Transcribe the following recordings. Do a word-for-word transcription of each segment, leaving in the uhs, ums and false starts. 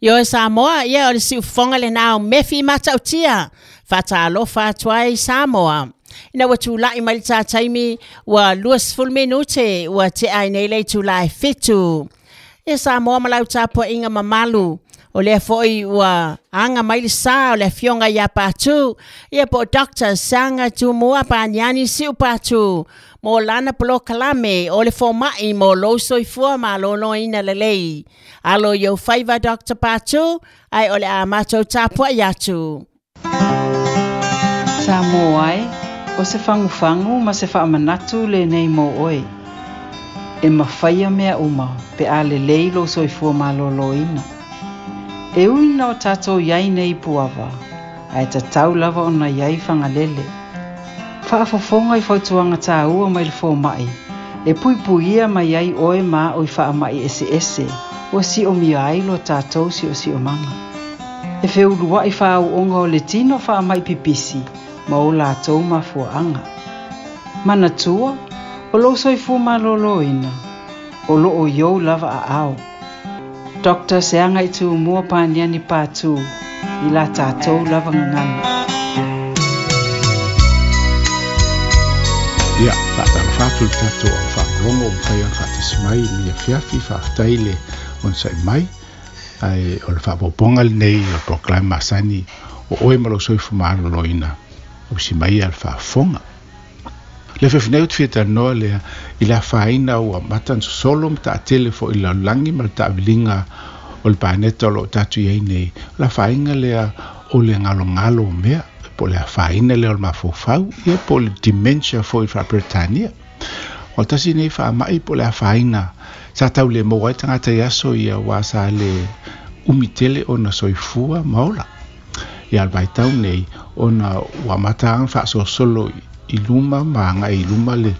Ioe Samoa, ia o le siufofoga lenā o mefi matautia, faatalofa atu ai Samoa. Ina ua tula'i mai le tataimi ua luasefulu minute ua tea ai nei le itulā e fitu. Ia Samoa ma lau tapuaʻiga mamalu, o lea foʻi ua aga mai le sā o le afioga iā Patu, ia po o Doctor Seaga Tumua Paniani Siu Patu, mo lana polokalame o le fomaʻi mo lou soifua malōlōina lelei. Alo i ou faiva Doctor Patu, ae o le a matou tapuaʻi atu. Samoa e, o se fagufagu ma se faamanatu lenei mo oe. E mafaia mea uma pe a lelei lou soifua malōlōina. E ui ina o tatou iai nei i Puava, ae tatau lava ona iai Fagalele. Faafofoga i fautuaga tāua mai le fomaʻi, e puipuia mai ai oe ma aʻo i faamaʻi eseese ua siʻomia ai lo tatou siʻosiʻomaga. E feuluaʻi fāuʻoga o le tino faamaʻi pipisi ma o latou mafuaʻaga. Manatua, o lou soifua malōlōina, o loo i ou lava aao. Doctor Seaga Tumua Paniani Patu, i la tatou lava gagana. Ia, faatalofa atu le tatou au faalogologo o mafai ona faatasi mai i lenei afiafi, faafetai le onosai mai, ae o le faaopoopoga lenei o le polokalame masani o oe ma lou soifua malōlōina ausi mai ia le faafofoga. Le afiafi nei ou te fia talanoa lea i le afaina ua amata ona sosolo ma taatele foʻi i le lalolagi ma le taaviliga o le paneta o loo tatou iai nei. O le afaina lea o le galogalo o mea, po o le afaina lea o le mafaufau, ia po o le dementia foʻi i le faaperetania. O le tasi nei faamaʻi po o le afaina sa tau le maua ai tagata i aso ia ua sa le umi tele ona soifua ma ola. Ia le vaitau nei ona ua amata aga faasolosolo i luma ma agaʻi i luma le,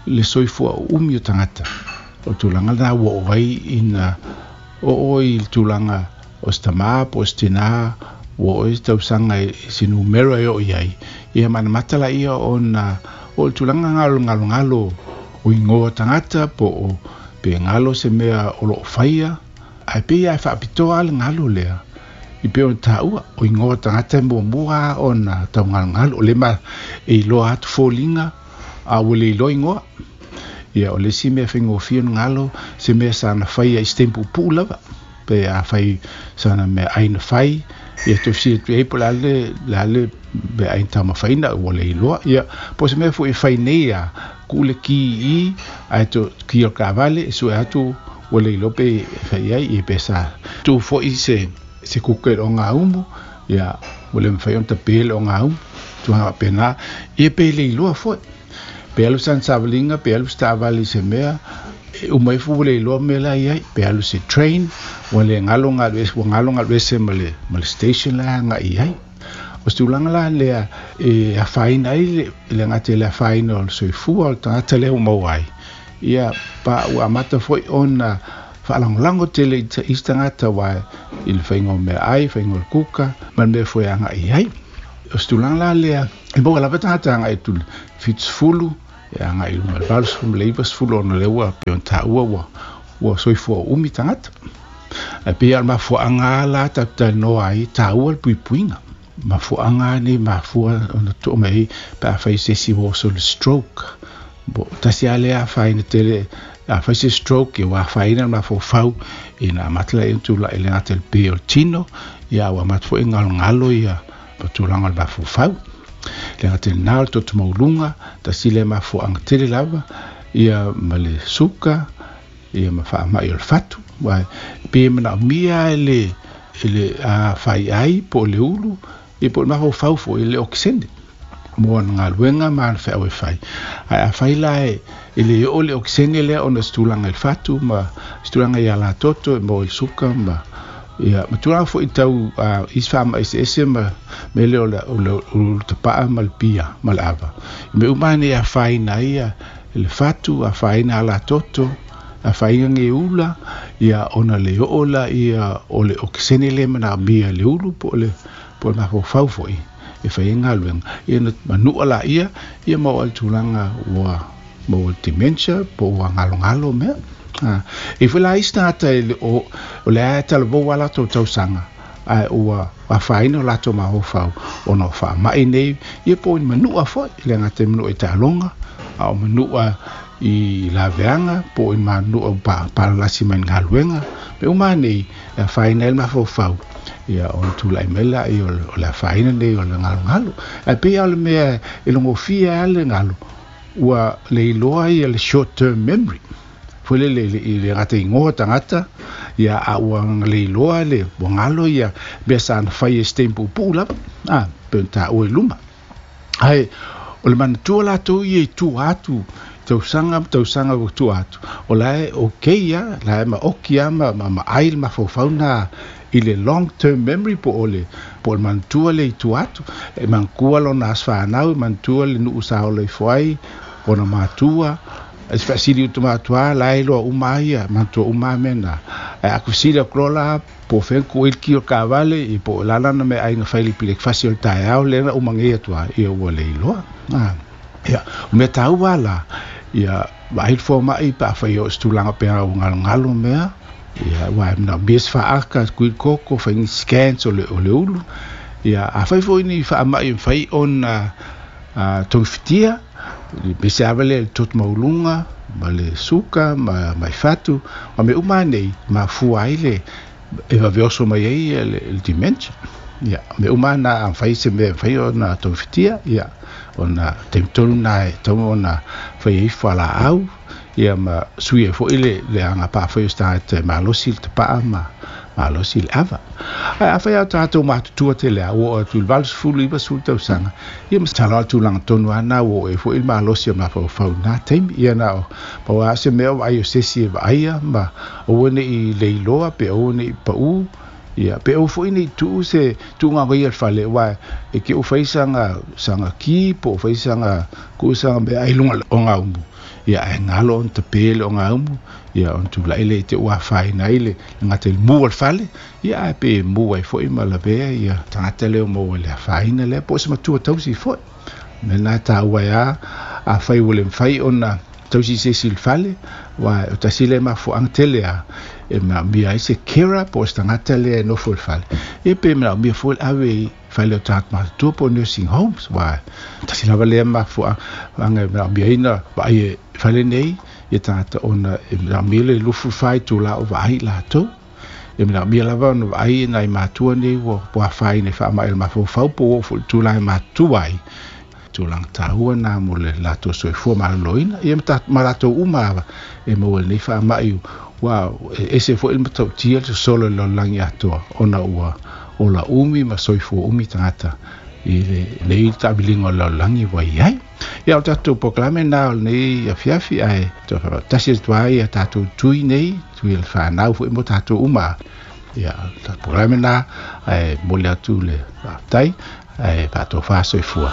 le soifua umi o tagata. O le tulaga lenā ua oo ai ina oo i le tulaga o se tamā po o se tinā ua oo i se tausaga e se numera e oo i ai. Ia manamata laia ona o le tulaga galogalogalo o igoa tagata po o pe galo se mea o loo faia, ae pei lava e faapitoa le galo lea i pei ona taua o igoa tagata e muamua ona taugalogalo o le ma e iloa atu foliga a ua le iloa igoa. Ia o le isi mea faigofie ona galo se mea sana faia i se taimi puupuu lava, pe afai sana meaai na fai, ia toe fesili atu i ai po o le a le, le a le meaai na taumafaina ua le iloa. Ia po o se mea foʻi e fai nei a tuu le ki i ae to ki o le taavale e sue atu ua le iloa pe fai ai, ia pe sa tuu foʻi se se kuka i le ogaumu, ia ua le mafai ona tapē le ogaumu, tulaga faapenā, ia pe le iloa foʻi. Pe alu sana savaliga, pe alu se taavale i se mea, e uma ifo ua le iloa mea la i ai, pe alu se train, ua le galo galu ese, ua galo galu ese ma le, ma le station la agaʻi i ai. O se tulaga la lea e afaina ai le, le gata i le afaina o le soifua o le tagata lea ua maua ai. Ia pa ua amata foʻi ona faalagolago tele i isi tagata ua i le faiga o meaai, faiga o le kuka, ma le mea foi e agaʻi ai. O se tulaga la lea e maua lava tagata agaʻi atu i le fitusefulu, e agaʻi i luga i le valusefulu ma le ivasefulu ona lea ua pei ona taua ua, ua soifua umi tagata. Ae pei lava o le mafuaaga la tatou talanoa ai, taua le puipuiga. Mafuaaga nei mafua ona too mai ai pe afai se isi ua oso i le stroke. Bo tasi lava lea afaina tele, afai se stroke ia ua afaina le mafaufau ina amata laia ona tulaʻi le gata i le pē o le tino, ia ua amata foʻi galogalo ia ma tulaga o le mafaufau. Le gata i lenā o le toto mauluga, tasi lea mafuaaga tele lava, ia ma le suka, ia ma faamaʻi o le fatu. Ua pe manaomia e le, e le faiai po o le ulu, ia po o le mafaufau foʻi i le okesene mo ana galuega ma ana feau e fai. Ae afai la e, e le oo le okesene lea ona o se tulaga i le fatu ma se tulaga i alatoto e maua i le suka ma ia ma tulaga foʻi tau uh, isi faamaʻi eseese ma mea lea o le, o le ulu tapaa ma le pia ma le ava. I mea uma nei e afaina ai ia le fatu, afaina alatoto, afaina geula, ia ona le oo la ia o le okesene lea manaomia e le ulu po o le, po o le mafaufau foʻi e fai ai galuega. Ia na manua laia, ia maua ai le tulaga ua maua le dementia po ua galogalo mea. Ah, e foi la isi tagata e le o o le a talavou a latou tausaga ae ua afaina o latou mafaufau ona o faama'i nei ia po o ni manu'a fo'i le gata i manu'a i taaloga a o manu'a i laveaga po o i manu'a palalasi mai galuega me uma nei e afaina ai le mafaufau ia ona tula'i mai laia o le afaina nei o le galogalo ae pei a o le mea e logofia a le galo ua leiloa ia le short term memory foi le le le gata igoa tagata ia a ua leiloa le ua galo ia mea sa na fai e se taimi puupuu lava a pe ona taua i luma ae o le manatua latou ia i tua atu tausaga ma tausaga ua tua atu o la e okay ia la e maoki a ma ma maai le mafaufau na i le long term memory po o le po o le manatua le i tua atu e manatua lona aso fanau e manatua le nuu sa ola ifo ai ona matua e se faasili utu matua la e loa uma ia manatua uma mea na ae a fesili atu loa la po o fea na tuu ai le ki o le kavale i po o le a lana meaai na fai i le pelekefasi o le taeao lea na uma nei atu a ia ua le iloa a ia o mea taua la ia vaai le foma'i pe afai o se tulaga pea ua galogalo mea ia ua e manaomia se faaka kui koko fai ni scans o le o le ulu ia afai foi ni faama'i e mafai ona togafitia aemaise lava lea i le toto maualuga ma le suka ma mai fatu ma mea uma nei mafua ai le e vave oso mai ai le, le dementia ia mea uma na a mafai se mea e mafai ona togafitia ia ona taimi tonu na e tatau ona fai ai fualaau ia ma sui ai fo'i le le agapā foi o se tagata e malosi le tapa'a ma malosi le ava ae afai a tatou matutua tele a ua oo atu i le valusefulu ivasefulu tausaga ia masalo a le tulaga tonu a na ua oo ai fo'i le malosi o mafaufau i na taimi ia na o pau a se mea o vaai o se isi e vaaia ma aua ne'i leiloa pe aua ne'i pa'ū ia pe aua fo'i ne'i tuu se tuuga ia le fale aua e te ua fai saga saga ki po o fai saga kuu saga meaai i luga o gaumu ia ae galo ona tape le ogaumu ia ona tula'i lea i te ua afaina ai le gata i le mu o le fale ia ae pe mu ai fo'i ma lavea ia tagata lea o maua i le afaina lea po o se matua tausi fo'i mea lena e taua ai a afai ua le mafai ona tausi i se isi i le fale aua o tasi lea mafuaaga tele a e manaomia ai se carer po o se tagata lea e nofo i le fale ia pe manaomia foi le ave i fale o tagata matutua po o nursing homes aua tasi lava lea mafuaaga e manaomia ai na vaai e fale nei ia tagata ona e manaomia le luafulufa itulā o vaai i latou e manaomia lava ona vaai nai matua nei ua ua afaina i faama'i o le mafaufau po ua oo foi i le tulaga e matutua ai tulaga taua na mo le latou soifua maloloina ia ma latou uma lava e maua i lenei faama'i ua e ese fo'i le matautia le sosolo i le lalolagi atoa ona ua ola umi ma soifua umi tagata i lenei taamiliga o le lalolagi ua i ai ia o tatou polokalame na o lenei afiafi ae tasi atu ai ia tatou tui nei tui o le fanau fo'i mo tatou uma ia tatou polokalame na ae momoli atu le faafetai ae faatofa soifua.